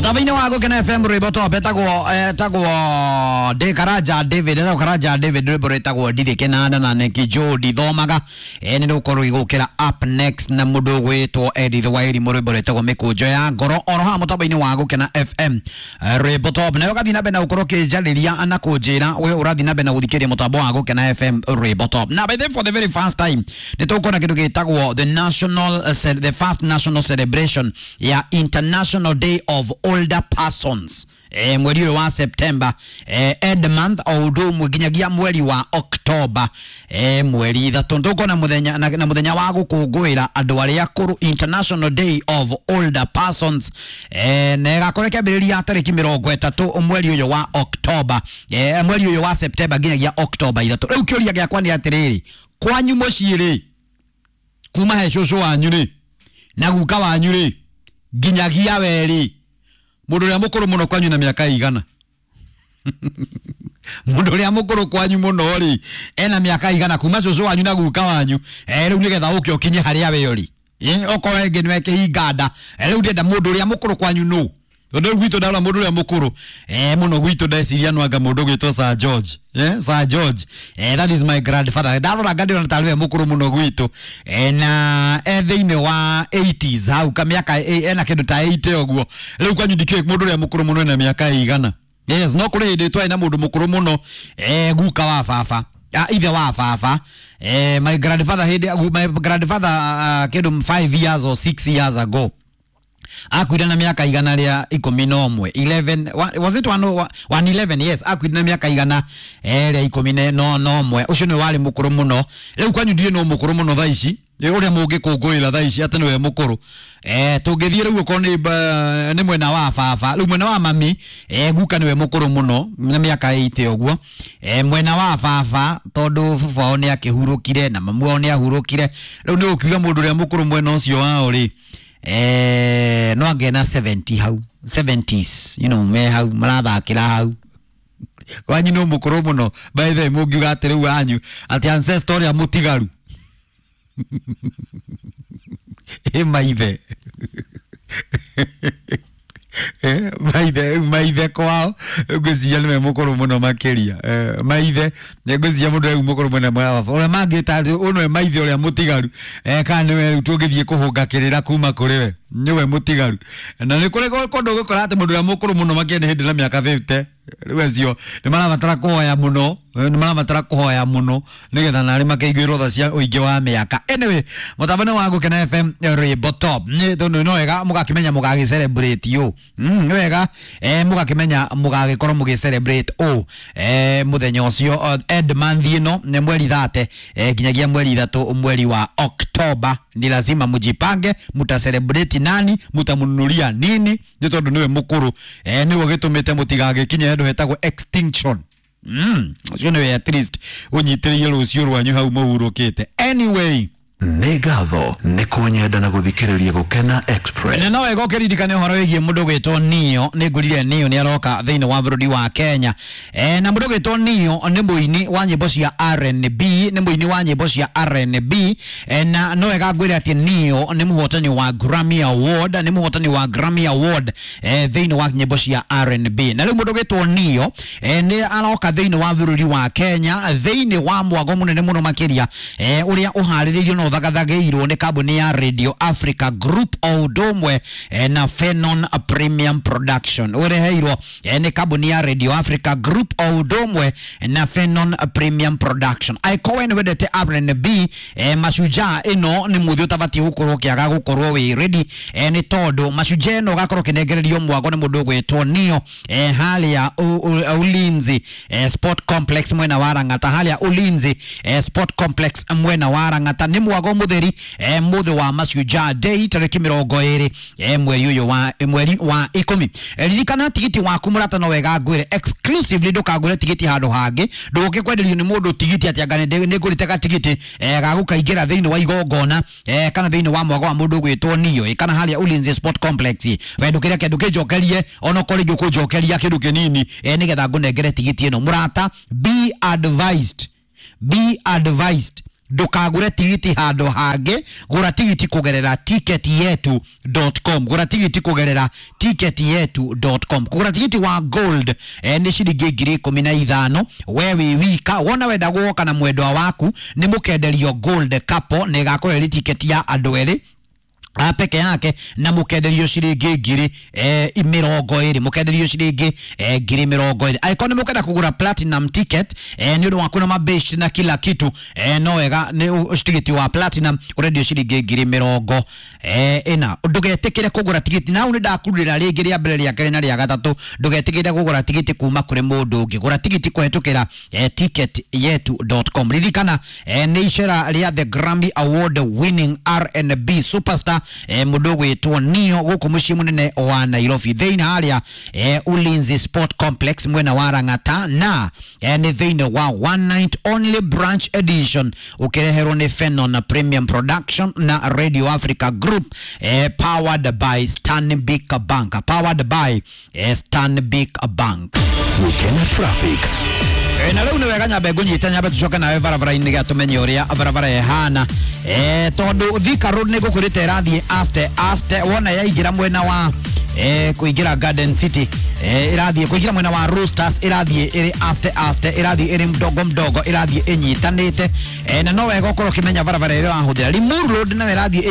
Mutamaini wa Gukena FM rwimbo top etagwo etagwo De Karaja David, etagwo Karaja David, rwimbo rwitagwo Ndirĩ Kĩnanda na Neki Joe ndithomaga. Nĩ rũkorwo igũkĩra up next na mũndũ ũgwĩtwo Edith Wairimu, rwimbo rwĩtagwo Mĩkũnjo ya Ngoro, oro haha mũtambo-inĩ wa Gukena FM rwimbo top. Nawe ũgathiĩ na mbere na gũkorwo ũkĩnjarĩria na kũnjĩra we ũrathiĩ na mbere na gũthikĩrĩria mũtambo wa Gukena FM rwimbo top. Na by the way, for the very first time nĩ tũkuona kĩndũ gĩtagwo the national the first national celebration ya International Day of Older Persons, mweri ũyũ wa September, end month, o ũndũ ũmwe nginyagia mweri wa October, mweri 3 tũkona mũthenya na mũthenya wa gũkũngũĩra andũ arĩa akũrũ, International Day of Older Persons, na ĩgakorwo ĩkĩambĩrĩria tarĩki 30 mweri ũyũ wa October, mweri ũyũ wa September nginyagia October 3. Rĩu kĩũria gĩakwa nĩ atĩrĩrĩ, kwanyu mũciĩ rĩ, kuma he cũcũ wanyu rĩ na guka wanyu rĩ nginyagia we rĩ, mũndũ ũrĩa mũkũrũ mũno kwanyu na mĩaka igana? Mũndũ ũrĩa mũkũrũ kwanyu mũno rĩ ena mĩaka igana, kuma cũcũ wanyu na guka wanyu, rĩu nĩgetha ũke ũkinye harĩa we ũrĩ, okorwo ĩngĩ nĩwe kĩhinga nda, rĩu ndĩrenda mũndũ ũrĩa mũkũrũ kwanyu nũ? Tondũ rĩu gwitũ ndarora mũndũ ũrĩa mũkũrũ mũno gwitũ, ndeciria no anga mũndũ ũgwĩtwo Sir George, Sir George, that is my grandfather. Ndarora ngandĩona tarĩ we mũkũrũ mũno gwitũ, na thĩinĩ wa 80s hau ka mĩaka, ena kĩndũ ta 80 ũguo. Rĩu kwanyu ndikĩũĩ mũndũ ũrĩa mũkũrũ mũno ena mĩaka ĩigana. Yes, no kũrĩ hĩndĩ twarĩ na mũndũ mũkũrũ mũno, guka wa baba, ithe wa baba, my grandfather, hĩndĩ my grandfather, kĩndũ 5 years or 6 years ago akuire na mĩaka 111, 11 was it 111? Yes, akuire na mĩaka 111. Ũcio nĩwe warĩ mũkũrũ mũno. Rĩu kwanyu ndiũĩ no mũkũrũ mũno thaa ici, ũrĩa mũngĩkũngũĩra thaa ici atĩ nĩwe mũkũrũ. Tũngĩthiĩ rĩu okorwo nĩ mwena wa baba, rĩu mwena wa mami, guka nĩwe mũkũrũ mũno na mĩaka 80 ũguo. Mwena wa baba, tondũ baba wao nĩ akĩhurũkire na mamu wao nĩ ahurũkire, rĩu nĩ ũkiuga mũndũ ũrĩa mũkũrũ mwena ũcio wao rĩ, no angĩ na 70 hau, 70s, me hau marathakĩra hau. Kwanyu no mũkũrũ mũno, by the way, mũngiuga atĩ rĩu wanyu atĩ ancestor ũrĩa mũtigaru ĩ maithe, maithe kwao ngwĩciria nĩwe mũkũrũ mũno makĩria. Maithe ngwĩciria mũndũ rĩu mũkũrũ mwena mwena wa baba ũrĩa mangĩta atĩ ũyũ nĩwe maithe ũrĩa mũtigaru, kana nĩwe rĩu tũngĩthiĩ kũhũnga kĩrĩra kuma kũrĩ we, nĩwe mũtigaru. Na nĩ kũrĩ kũndũ ũgũkora atĩ mũndũ ũrĩa mũkũrũ mũno makĩria nĩ hĩndĩ na mĩaka 50. Rĩu acio nĩ marabatara kũhoya mũno, nĩ marabatara kũhoya mũno nĩgetha narĩ makaiguĩrwo tha cia ũingĩ wa mĩaka. Anyway, mũtambo wa Gukena FM rwimbo top nĩ tondũ no wega mũgakĩmenya mũgagĩ celebrate ũ, nĩ wega mũgakĩmenya mũgagĩkorwo mũgĩ celebrate ũ, mũthenya ũcio, end month ĩno nĩ mweri 30, nginyagia mweri 3 mweri wa October. Ni lazima mujipange muta celebrate nani, mutamnunulia nini, nĩ tondũ nĩwe mũkũrũ, nĩwe gĩtũmĩte mũtigagĩkinye handũ hetagwo extinction. Ũcio nĩwe at least ũnyitĩrĩire rũciũ rwanyu hau mũhurũkĩte. Anyway, Nĩ ngatho nĩ kũnyenda na gũthikĩrĩria Gũkena Express. Na no wega ũkĩririkane ũhoro wĩgiĩ mũndũ ũgwĩtwo Nio. Nĩ ngũrire Nio nĩ aroka thĩinĩ wa bũrũri wa Kenya, na mũndũ ũgwĩtwo Nio nĩ mũini wa nyĩmbo cia R&B, nĩ mũini wa nyĩmbo cia R&B, na no wega ngwĩre atĩ Nio nĩ mũhotani wa Grammy Award, nĩ mũhotani wa Grammy Award, thĩinĩ wa nyĩmbo cia R&B. Na rĩu mũndũ ũgwĩtwo Nio, nĩ aroka thĩinĩ wa bũrũri wa Kenya thĩinĩ wa mwago mũnene mũno makĩria, ũrĩa ũharĩrĩirio na ũthagathagĩirwo nĩ kambuni ya Radio Africa Group o ũndũ ũmwe, na Fenon Premium Production, ũreheirwo, nĩ kambuni ya Radio Africa Group o ũndũ ũmwe na Fenon Premium Production. Angĩkorwo we nĩ wendete R&B, Mashujaa ĩno nĩ mũthĩ ũtabatiĩ gũkorwo ũkĩaga gũkorwo wĩ ready, nĩ tondũ Mashujaa ĩno ũgakorwo ũkĩnengererio mwago nĩ mũndũ ũgwĩtwo Nio, harĩa Ulinzi Sport Complex mwena wa Lang'ata, harĩa Ulinzi Sport Complex mwena wa Lang'ata. Nĩ mwago mũtheri, mũthĩ wa Mashujaa Day tarĩki 20, mweri ũyũ wa mweri wa 10. Ririkana tigiti waku mũrata, no wega ngwĩre exclusively ndũkagũre tigiti handũ hangĩ, ndũke kwenderio nĩ mũndũ tigiti atĩ anga nĩ ngũrĩte gatigiti, ga gũkaingĩra thĩinĩ wa igongona, kana thĩinĩ wa mwago wa mũndũ ũgwĩtwo Nio, kana harĩa Ulinzi Sport Complex. We ndũkĩreke ndũkĩnjokerie onokorwo rĩngĩ ũkũnjokeria kĩndũ kĩnini, nĩgetha ngũnengere tigiti ĩno. Mũrata, be advised, be advised. Ndukagure tigiti handu hangi, gura tigiti kugerera ticketyetu.com. Gura tigiti kugerera ticketyetu.com. Kugura tigiti wa gold nĩ ciringi 15,000 we wĩ wika. Wona wenda guoka na mwendwa waku nĩ mũkenderio gold couple, na ĩgakorwo ĩrĩ tiketi ya andũ erĩ a peke yake, na mukenderio ciringi 20,000, mukenderio ciringi 20,000. Angĩkorwo nĩ mũkenda kũgũra platinum ticket nĩ ũndũ waku na mabeshi na kila kitu, no wega nĩ tigiti wa platinum ũrendio ciringi 40,000. Ndũgetĩkĩre kũgũra tigiti na hau nĩ ndakurĩra rĩngĩ rĩa mbere, rĩa kerĩ na rĩa gatatũ, ndũgetĩkĩre kũgũra tigiti kuma kũrĩ mũndũ ũngĩ. Gũra tigiti kũhetũkĩra ticketyetu.com. Ririkana nĩ icera rĩa the Grammy Award winning R&B superstar mũndũ ũgwĩtwo Neo gũkũ mũciĩ mũnene wa Nairobi, thĩinĩ harĩa Ulinzi Sport Complex mwena wa Lang'ata, na nĩ thĩinĩ wa one night only branch edition, ũkĩreherwo nĩ Fenon Premium Production na Radio Africa Group, powered by Stanbic Bank, powered by Stanbic Bank. Gukena traffic. Na rĩu nĩ wega nyambe ngũnyite, nyambe tũcoke nawe barabara-inĩ gĩa tũmenye ũrĩa barabara ĩhana, tondũ Thika Road nĩ ngũkwĩrĩte ĩrathiĩ aste aste. Wona yaingĩra mwena wa kũingĩra Garden City, ĩrathiĩ kũingĩra mwena wa Roosters, ĩrathiĩ ĩrĩ aste aste, ĩrathiĩ ĩrĩ mdogo mdogo, ĩrathiĩ ĩnyitanĩte, na no wega ũkorwo ũkĩmenya barabara ĩrĩa ũrahũthĩra. Limuru Road nayo ĩrathiĩ